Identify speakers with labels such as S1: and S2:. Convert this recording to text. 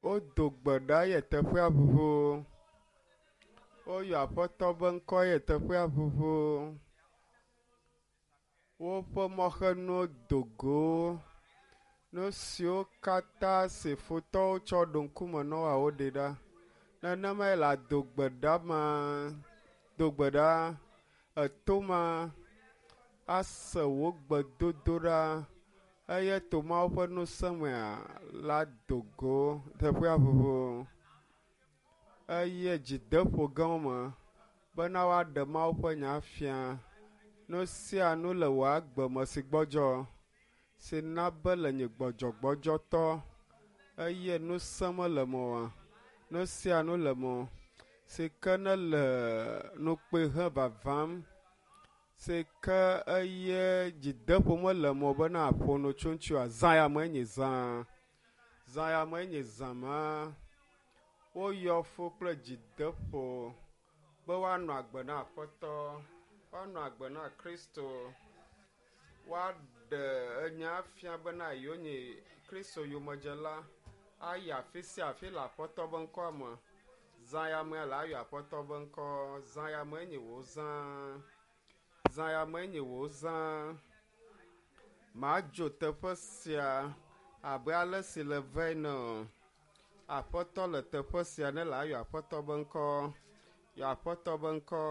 S1: Wodo gbe ɖa ye teƒea ʋuʋu. Woyɔ Aƒetɔ be ŋkɔ ye teƒea ʋuʋu. Woƒe mɔxenuwo do go. Nu siwo katã si futɔwo tsɔ ɖo ŋkume na woa woɖe ɖa. Nenemae le ado gbe ɖa ma. Do gbe ɖa. Eto ma ase wò gbedodoɖa eye to Mawu ƒe ŋusẽ mea la do go teƒea ʋuʋu eye dzideƒo gãwo me bena woaɖe Mawu ƒe nya fia. Nu sia nu le wò agbe me si gbɔdzɔ si na be le nye gbɔdzɔgbɔdzɔtɔ eye ŋusẽ mele me oa. Nu sia nu le me si ke ne le nukpɔe he vavam si ke eye dzideƒo mele me o bena aƒo nu tso ŋuti oa. Zã ya me enye zã. Zã ya me enye zã ma. Woyɔ fu kple dzideƒo be woanɔ agbe na Aƒetɔ, woanɔ agbe na Kristo, woaɖe enya fia bena yewonye Kristo yomedzela, ayi afi sia afi le Aƒetɔ be ŋkɔa me. Zã ya mea le ayɔ Aƒetɔ be ŋkɔ. Zã ya me enye wò zã. Zã ya me enye wò zã. Madzo teƒe sia abe ale si le ve ene o. Aƒetɔ le teƒe sia ne le ayɔ Aƒetɔ be ŋkɔ. Yɔ Aƒetɔ be ŋkɔ.